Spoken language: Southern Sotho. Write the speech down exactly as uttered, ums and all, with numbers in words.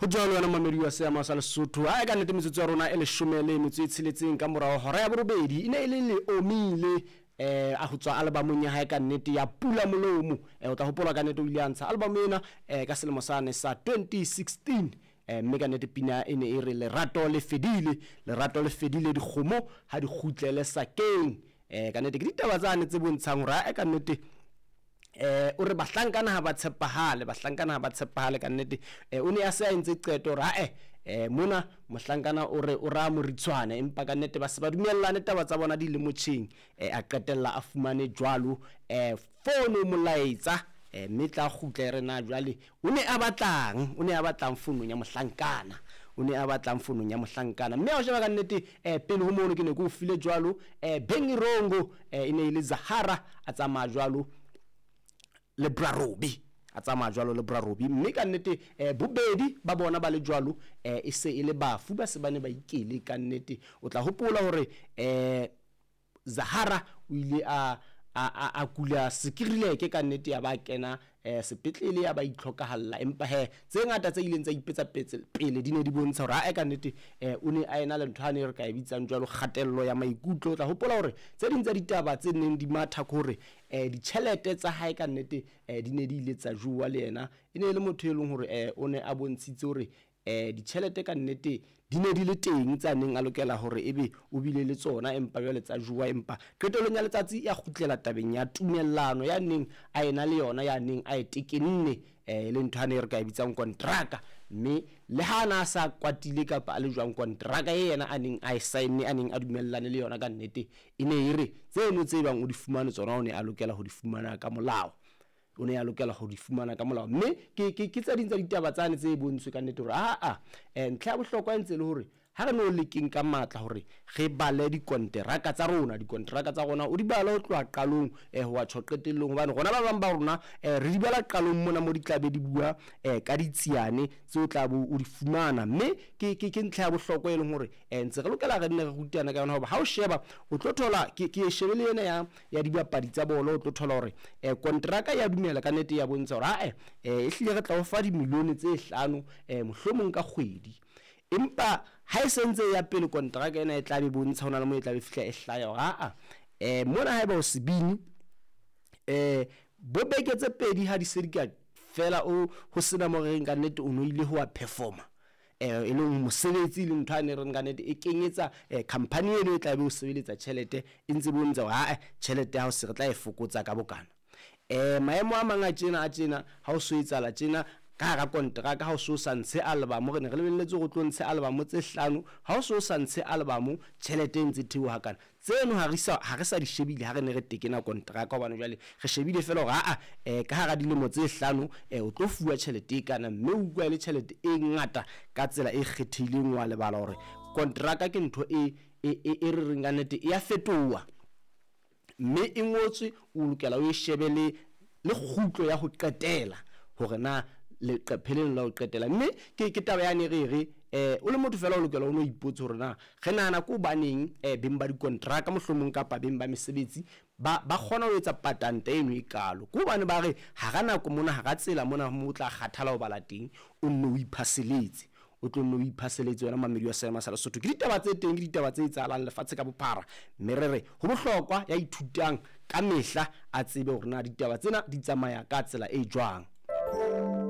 Ho jwalo wena mamedi wa seama sa Lesotho. Ha e ka nnete metsotso ya rona e leshome le metso e tsheletseng ka morao hora ya borobedi. E ne e le le omile eh a ho tswa albumong ya hae ka nnete ya Pula Molomo. Eh o tla hopola ka nnete o ile a ntsha album ena eh ka selemo sane sa twenty sixteen. Eh mme ka nnete pina e ne e re lerato le fedile, lerato le fedile dikgomo ha di kgutlele sakeng. Eh ka nnete ke ditaba tsane tse bontshang hore ha e ka nnete eh o re bahlankana ha ba tshepahale, bahlankana ha ba tshepahale ka nnete. Eh o ne a se a entse qeto hore ha eh eh mona mohlankana o re o ra moritshwane, empa ka nnete ba se ba dumellane taba tsa bona di le motjheng. Eh a qetella a fumane jwalo eh fono molaetsa eh mme tla kgutla e re na jwale o ne a batlang, o ne a batlang fonong ya mohlankana, o ne a batlang fonong ya mohlankana. Mme ha o sheba ka nnete eh pele ho mono ke ne ke o file jwalo eh Bengi Rongo eh e ne e le Zahara a tsamaya jwalo le Brarobi, a tsamaya jwalo le Brarobi. Mme ka nnete eh bobedi ba bona ba le jwalo eh e se e le bafu, ba se ba ne ba ikele ka nnete. O tla hopola hore eh Zahara o ile a a a, a kula sekirileke ka nnete, ya ba kena eh sepetlele ya ba itlhokahalla. Empa he tse ngata tse ileng tsa ipetsa pele di ne di bontsha hore ha e ka nnete eh o ne a ena le ntho ane re ka e bitsang jwalo kgatello ya maikutlo. O tla hopola hore tse ding tsa ditaba tse neng di matha ke hore eh ditjhelete tsa hae ka nnete eh di ne di ile tsa jowa le yena. E ne e le motho e leng hore eh o ne a bontshitse hore eh ditjhelete ka nnete di ne di le teng tsa neng a lokela hore ebe o bile le tsona, empa jwale tsa jowa. Empa qetellong ya letsatsi ya kgutlela tabeng ya tumellano ya neng a ena le yona, ya neng a e tekenne eh le ntho ane re ka e bitsang kontraka. Mme le ha na sa kwatile kapa a le jwang, kontraka e yena a neng a e sign-e, a neng a dumellane le yona ka nnete, e ne e re tseno tse bang o di fumane tsona o ne a lokela ho di fumana ka molao, o ne a lokela ho di fumana ka molao. Mme ke ke ke tse ding tsa ditaba tsane tse bontshwe ka nnete hore a a eh ntlha ya bohlokwa e ntse le hore ha re no lekeng ka matla hore re bale dikonteraka tsa rona, dikonteraka tsa rona o di bale ho tloha qalong eh ho wa tjho qetellong, hobane rona ba bang ba rona eh re di bala qalong mona mo di tla be di bua eh ka ditsiane tseo tla bo o di fumana. Mme ke ke ke ntlha ya bohlokwa e leng hore eh ntse re lokela re nne re rutana ka yona, hoba ha o sheba o tlo thola ke ke shebe le ena ya ya dibapadi tsa bolo, o tlo thola hore eh kontraka ya dumela ka nnete ya bontsha hore ha eh e hlile re tla o fa dimilione tse hlano eh mohlomong ka kgwedi. Empa ha e sentse ya pele kontraka ena e tla be bontsha hona le mo e tla be fihla e hlaya hore a eh mona haeba o sebini eh bo beke tse pedi ha di se di ka fela o ho sena mo reng ka nnete o no ile ho wa performer eh e leng mosebetsi le ntho ane reng ka nnete e kenyetsa eh company eno e tla be o sebeletsa tjhelete e ntse bontsha hore a tjhelete ya hao se re tla e fokotsa ka bokana. Eh maemo a mang a tjena a tjena ha o so etsala tjena ka hara kontraka, ha o so sa ntshe album, re ne re lebelletse hore o tlo ntshe album tse hlano, ha o so sa ntshe album tjhelete e ntse theoha kana. Tseno ha re sa ha re sa di shebile ha re ne re tekena kontraka, hobane jwale re shebile fela hore a eh ka hara dilemo tse hlano eh o tlo fuwa tjhelete e kana, mme o utlwa le tjhelete e ngata ka tsela e kgethehileng. Wa lebala hore kontraka ke ntho e e e re reng ka nnete e ya fetoha, mme e ngotswe o lokela o e shebe le le kgutlo ya ho qetela hore na leqephe leno la ho qetela. Mme ke ke taba yane re re eh o le motho fela o lokela o no ipotse hore na re nahana ko hobaneng eh beng ba dikontraka mohlomong kapa beng ba mesebetsi ba ba kgona ho etsa patanta eno e kalo, ke hobane ba re hara nako mona hara tsela mona mo o tla kgathala ho bala teng o nne o iphaseletse, o tlo nne o iphaseletse wena mamedi wa seema sa Lesotho. Ke ditaba tse teng, ke ditaba tse etsahalang lefatshe ka bophara, mme re re ho bohlokwa ya ithutang ka mehla a tsebe hore na ditaba tsena di tsamaya ka tsela e jwang.